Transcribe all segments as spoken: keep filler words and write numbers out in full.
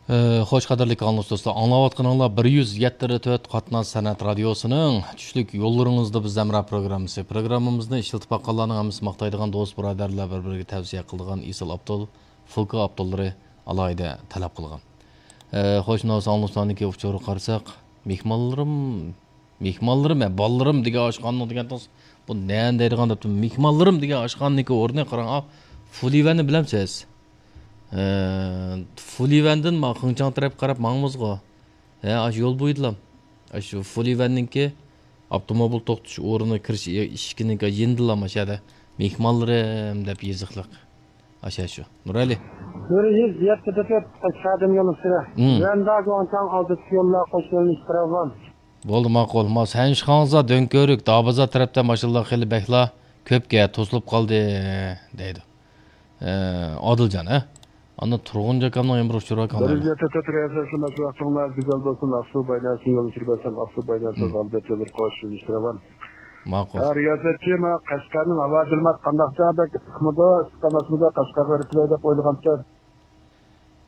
ئە، خوش، قەدىرلىك ئاڭلىغۇچى دوستلار، ئاڭلاۋاتقىنىڭلار بىر يۈز يەتتە تۆت قاتناش سەنئەت رادىيوسىنىڭ چۈشلۈك يوللىرىڭىزدا بىز ھەمراھ پروگراممىسى. پروگراممىمىزنى ئىشلىتىپ باققانلارنىڭ ھەممىسى ماختايدىغان دوست بۇرادەرلەر بىر-بىرىگە تەۋسىيە قىلىدىغان ئېسىل ئاپتول، فولكا ئاپتوللىرى ئالاھىدە تەلەپ قىلغان. ئە، خوش، ناۋسا ئاڭلىغۇچىلارنىڭكى ئۇچۇرىغا قارىساق، مېھمانلىرىم مېھمانلىرىم، ھە، بالىلىرىم دېگەن ئاشخانىنىڭ دېگەن توغرىسى، بۇ نەنى دەيدىغان دەپتۇ. مېھمانلىرىم دېگەن ئاشخانىنىڭكى ئورنى قاراڭ، ئا، فۇلىۋەننى بىلەمسىز؟ ئە، فۇلىۋەندىن ما خېڭچاڭ تەرەپكە قاراپ ماڭىمىزغۇ. ھە، ئاشۇ يول بويىدىلا. ئاشۇ فۇلىۋەننىڭكى ئاپتوموبىل توختىتىش ئورنى كىرىش ئىشىكىنىڭكى يېنىدىلا، ماشۇ يەردە مېھمانلىرىم دەپ يېزىقلىق. ئاشۇ، شۇ. نۇرئەلى. بىر يۈز يەتتە تۆت قەشقەردىن يول ئۈستىدە. ھىم. ۋەندا گۇاڭچاڭ ئالدىدىكى يوللار قوشۇلۇش تراۋان. بولدى، ماقۇل. ما سەنشىخاڭزا، دۆڭكۆۋرۈك، دابازار تەرەپتە ماشىنىلار خېلى بەكلا كۆپكەن، توسۇلۇپ قالدى، دەيدۇ. ئە، ئادىلجان، ھە؟ ئاندىن تۇرغۇن جاكامنىڭ يەنە بىر ئۇچۇرى بار كامىل. بىر يۈز يەتتە تۆت رىياسەتچى، مەشۇ ۋاقتىڭلار گۈزەل بولسۇن. ئاقسۇ بايناسىڭ يول ئۈچۈر بەرسەم، ئاقسۇ بايناسىڭ ھىم. غەلىبە ئۆتىدۇ، قوش يۈرۈش رەۋان. ماقۇل. ھە، رىياسەتچى، ما قەشقەرنىڭ ھاۋا كىلىماتى قانداقچە؟ بەك ئىسسىقمىدۇ، ئىسسىق ئەمەسمىدۇ؟ قەشقەرگە بېرىپ كېلەي دەپ ئويلىغانتىم.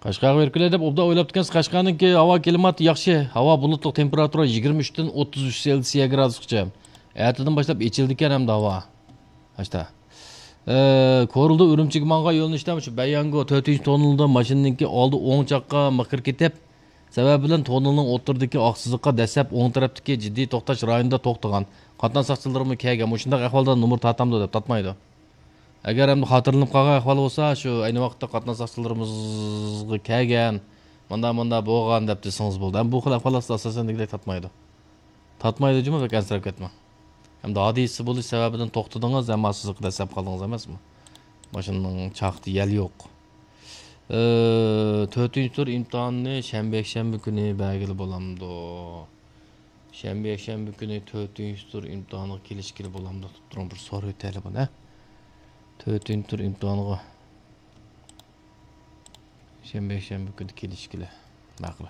قەشقەرگە بېرىپ كېلەي دەپ ئوبدان ئويلاپتىكەنسىز. قەشقەرنىڭكى ھاۋا كىلىماتى ياخشى. ھاۋا بۇلۇتلۇق، تېمپېراتۇرا يىگىرمە ئۈچتىن ئوتتۇز ئۈچ سېلسىيە گرادۇسقىچە. ئەتىدىن باشلاپ ئېچىلىدىكەن ئەمدى ھاۋا. ئاشتا. ئە، كورلىدا ئۈرۈمچىگە ماڭغان يۆنىلىشتە شۇ بەيياڭگو تۆتىنچى توننېلدا ماشىنىنىڭكى ئالدى ئوڭ چاققا مىقىر كېتىپ، سەۋەبى بىلەن توننېلنىڭ ئوتتۇرىدىكى ئاق سىزىققا دەسسەپ ئوڭ تەرەپتىكى جىددىي توختاش رايونىدا توختىغان. قاتناش ساقچىلىرىمۇ كەلگەن. مۇشۇنداق ئەھۋالدا نومۇر تارتامدۇ دەپ تارتمايدۇ. ئەگەر ئەمدى خاتىرىلىنىپ قالغان ئەھۋال بولسا، شۇ ئەينى ۋاقىتتا قاتناش ساقچىلىرىمىزغا كەلگەن، ماندا، ماندا بولغان دەپ دېسىڭىز بولىدۇ. ئەمما بۇ خىل ئەھۋاللاردا ئاساسەن دېگۈدەك تارتمايدۇ. تارتمايدۇ جۇمۇ، بەك ئەنسىرەپ كەتمەڭ. ئەمدى ھادىسە بولۇش سەۋەبىدىن توختىدىڭىز، ئەمما سىزىققا دەسسەپ قالدىڭىز ئەمەسمۇ؟ ماشىنىنىڭ چاقتا يەل يوق. ئى، تۆتىنچى تۈر ئىمتىھانىنى شەنبە، يەكشەنبە كۈنى بەرگىلى بولامدۇ؟ شەنبە، يەكشەنبە كۈنى تۆتىنچى تۈر ئىمتىھانىغا كېلىشكىلى بولامدۇ؟ تۇرۇڭ، بىر سورىۋېتەيلى بۇنى. تۆتىنچى تۈر ئىمتىھانىغا شەنبە، يەكشەنبە كۈنى كېلىشكىلى. ماقۇل.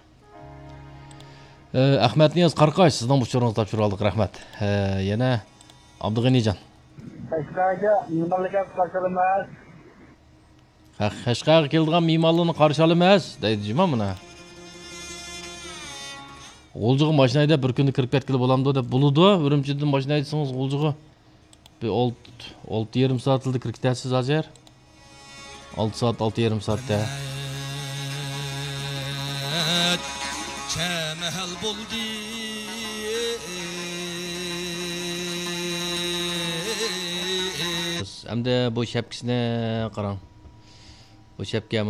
ئە، ئەخمەتنىياز قاراقاش، سىزنىڭ ئۇچۇرىڭىزنى تاپشۇرۇۋالدۇق، رەھمەت. ئە، يەنە ئابدۇغېنىجان. قەشقەرگە مېھمانلارنى قارشى ئالىمىز. قەشقەرگە كېلىدىغان مېھمانلارنى قارشى ئالىمىز، دەيدۇ جۇما مانا. غۇلجىغا ماشىنا ھەيدەپ بىر كۈندە كىرىپ كەتكىلى بولامدۇ دەپ. بولىدۇ، ئۈرۈمچىدىن ماشىنا ھەيدىسىڭىز غۇلجىغا بىر ئالتە، ئالتە يېرىم سائەتلا كىرىپ كېتەرسىز ھازىر. ئالتە سائەت، ئالتە يېرىم سائەتتە. كەمەھەل بولدى. ئەمدى بۇ شەپكىسىنى قاراڭ. بۇ شەپكە